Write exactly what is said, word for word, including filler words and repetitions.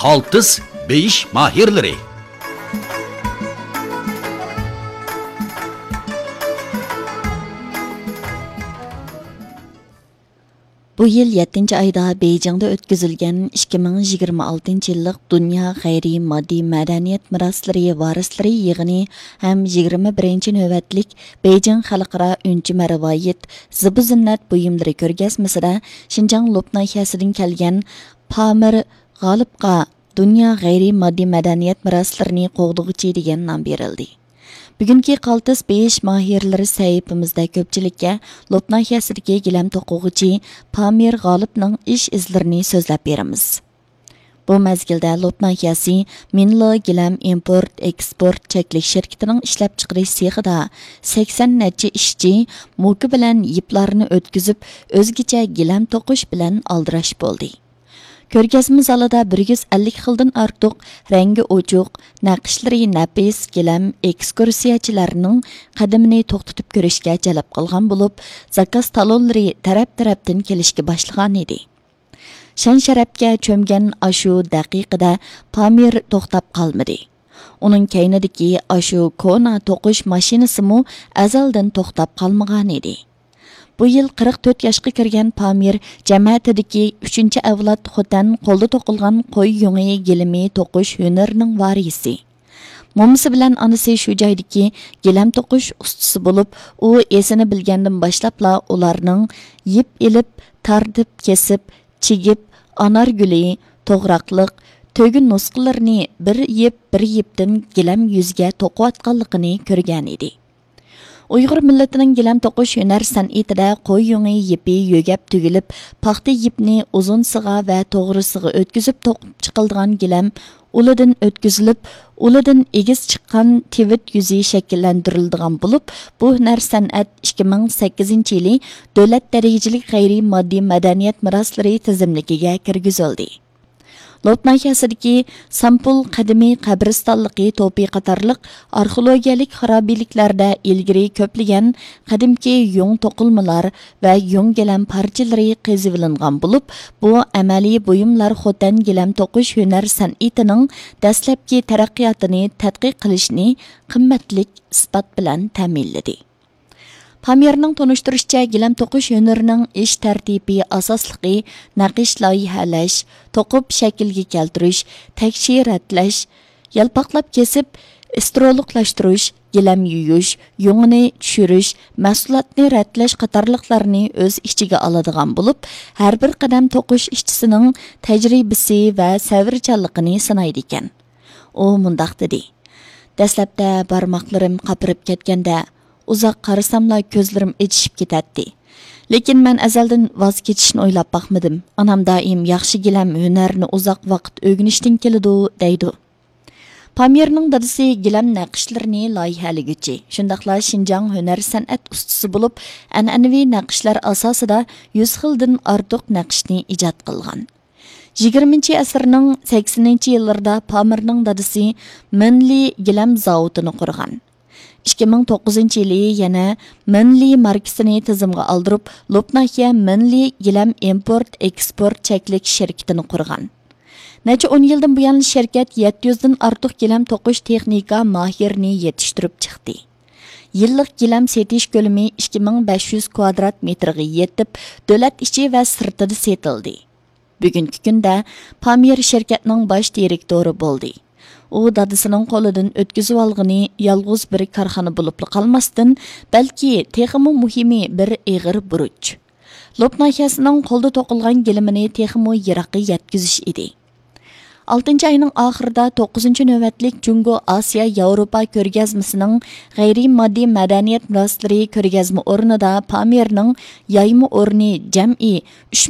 ئالتىس بېيىش ماھىرلىرى. بۇ يىل يەتتىنچى ئايدا بېيجىڭدا ئۆتكۈزۈلگەن ئىككى مىڭ يىگىرمە ئالتىنچى يىللىق دۇنيا غەيرىي ماددىي مەدەنىيەت مىراسلىرى ۋارىسلىرى يىغىنى ھەم يىگىرمە بىرىنچى نۆۋەتلىك بېيجىڭ خەلقئارا ئۈنچىمە رىۋايەت زىبۇ زىننەت بۇيۇملىرى كۆرگەزمىسىدە شىنجاڭ لوپ ناھىيەسىدىن كەلگەن پامىر غالىپقا دۇنيا غەيرىي ماددىي مەدەنىيەت مىراسلىرىنى قوغدىغۇچى دېگەن نام بېرىلدى. بۈگۈنكى قالتىس بېيىش ماھىرلىرى سەھىپىمىزدە كۆپچىلىككە لوپ ناھىيەسىدىكى گىلەم توقۇغۇچى پامىر غالىپنىڭ ئىش ئىزلىرىنى سۆزلەپ بېرىمىز. بۇ مەزگىلدە لوپ ناھىيەسى مىنلو گىلەم ئىمپورت ئېكسپورت چەكلىك شىركىتىنىڭ ئىشلەپچىقىرىش سېخىدا سەكسەن نەچچە ئىشچى موكا بىلەن يىپلارنى ئۆتكۈزۈپ، ئۆزگىچە گىلەم توقۇش بىلەن ئالدىراش بولدى. كۆرگەزمە زالىدا بىر يۈز ئەللىك خىلدىن ئارتۇق رەڭگى ئوچۇق، نەقىشلىرى نەپىس گىلەم ئېكسكۇرسىيەچىلەرنىڭ قەدىمىنى توختىتىپ كۆرۈشكە جەلپ قىلغان بولۇپ، زاكاز تالونلىرى تەرەپ-تەرەپتىن كېلىشكە باشلىغانىدى. شان-شەرەپكە چۆمگەن ئاشۇ دەقىقىدە پامىر توختاپ قالمىدى. ئۇنىڭ كەينىدىكى ئاشۇ كونا توقۇش ماشىنىسىمۇ ئەزەلدىن توختاپ قالمىغانىدى. بۇ يىل قىرىق تۆت ياشقا كىرگەن پامىر جەمەتىدىكى ئۈچىنچى ئەۋلاد خوتەن قولدا توقۇلغان قوي يۇڭى گىلىمى توقۇش ھۈنىرىنىڭ ۋارىسى. مومىسى بىلەن ئانىسى شۇ جايدىكى گىلەم توقۇش ئۇستىسى بولۇپ، ئۇ ئېسىنى بىلگەندىن باشلاپلا ئۇلارنىڭ يىپ ئېلىپ، تارتىپ، كېسىپ، چىگىپ، ئانار گۈلى، توغراقلىق، تۆگە نۇسخىلىرىنى بىر يىپ بىر يىپتىن گىلەم يۈزىگە توقۇۋاتقانلىقىنى كۆرگەنىدى. ئۇيغۇر مىللىتىنىڭ گىلەم توقۇش ھۈنەر سەنئىتىدە قوي يۇڭى يىپى يۆگەپ تۈگۈلۈپ، پاختا يىپنى ئۇزۇنسىغا ۋە توغرىسىغا ئۆتكۈزۈپ توقۇپ چىقىلىدىغان گىلەم ئۇلىدىن ئۆتكۈزۈلۈپ، ئۇلىدىن ئېگىز چىققان تىۋىت يۈزى شەكىللەندۈرۈلىدىغان بولۇپ، بۇ ھۈنەر سەنئەت ئىككى مىڭ سەككىزىنچى يىلى دۆلەت دەرىجىلىك غەيرىي ماددىي مەدەنىيەت مىراسلىرى تىزىملىكىگە كىرگۈزۈلدى. لوپ ناھىيەسىدىكى سامپۇل قەدىمىي قەبرىستانلىقى توپى قاتارلىق ئارخېئولوگىيەلىك خارابىلىكلەردە ئىلگىرى كۆپلىگەن قەدىمكى يۇڭ توقۇلمىلار ۋە يۇڭ گىلەم پارچىلىرى قېزىۋېلىنغان بولۇپ، بۇ ئەمەلىي بۇيۇملار خوتەن گىلەم توقۇش ھۈنەر سەنئىتىنىڭ دەسلەپكى تەرەققىياتىنى تەتقىق قىلىشنى قىممەتلىك ئىسپات بىلەن تەمىنلىدى. پامىرنىڭ تونۇشتۇرۇشىچە، گىلەم توقۇش ھۈنىرىنىڭ ئىش تەرتىپى ئاساسلىقى نەقىش لايىھەلەش، توقۇپ شەكىلگە كەلتۈرۈش، تەكشى رەتلەش، يالپاقلاپ كېسىپ، ئىسترولۇقلاشتۇرۇش، گىلەم يۇيۇش، يۇڭىنى چۈشۈرۈش، مەھسۇلاتنى رەتلەش قاتارلىقلارنى ئۆز ئىچىگە ئالىدىغان بولۇپ، ھەر بىر قەدەم توقۇش ئىشچىسىنىڭ تەجرىبىسى ۋە سەۋرچانلىقىنى سىنايدىكەن. ئۇ مۇنداق دېدى: دەسلەپتە بارماقلىرىم قاپىرىپ كەتكەندە، ئۇزاق قارىساملا كۆزلىرىم ئېچىشىپ كېتەتتى. لېكىن مەن ئەزەلدىن ۋاز كېچىشنى ئويلاپ باقمىدىم. ئانام دائىم ياخشى گىلەم ھۈنەرنى ئۇزاق ۋاقىت ئۆگىنىشتىن كېلىدۇ، دەيدۇ. پامىرنىڭ دادىسى گىلەم نەقىشلىرىنى لايىھەلىگۈچى، شۇنداقلا شىنجاڭ ھۈنەر سەنئەت ئۇستىسى بولۇپ، ئەنئەنىۋى نەقىشلەر ئاساسىدا يۈز خىلدىن ئارتۇق نەقىشنى ئىجاد قىلغان. يىگىرمىنچى ئەسىرنىڭ سەكسىنىنچى يىللىرىدا پامىرنىڭ دادىسى مىنلى گىلەم زاۋۇتىنى قۇرغان. ئىككى مىڭ توققۇزىنچى يىلى يەنە مىنلى ماركىسىنى تىزىمغا ئالدۇرۇپ، لوپ ناھىيە مىنلى گىلەم ئىمپورت ئېكسپورت چەكلىك شىركىتىنى قۇرغان. نەچچە ئون يىلدىن بۇيان، شىركەت يەتتە يۈزدىن ئارتۇق گىلەم توقۇش تېخنىكا ماھىرىنى يېتىشتۈرۈپ چىقتى. يىللىق گىلەم سېتىش كۆلىمى ئىككى مىڭ بەش يۈز كۋادرات مېتىرغا يېتىپ، دۆلەت ئىچى ۋە سىرتىدا سېتىلدى. بۈگۈنكى كۈندە پامىر شىركەتنىڭ باش دىرېكتورى بولدى. ئۇ دادىسىنىڭ قولىدىن ئۆتكۈزۈۋالغىنى يالغۇز بىر كارخانا بولۇپلا قالماستىن، بەلكى تېخىمۇ مۇھىمى بىر ئېغىر بۇرچ. لوپ ناھىيەسىنىڭ قولدا توقۇلغان گىلىمىنى تېخىمۇ يىراققا يەتكۈزۈش ئىدى. ئالتىنچى ئاينىڭ ئاخىرىدا توققۇزىنچى نۆۋەتلىك جۇڭگو ئاسىيا ياۋروپا كۆرگەزمىسىنىڭ غەيرىي ماددىي مەدەنىيەت مىراسلىرى كۆرگەزمە ئورنىدا پامىرنىڭ يايما ئورنى جەمئىي ئۈچ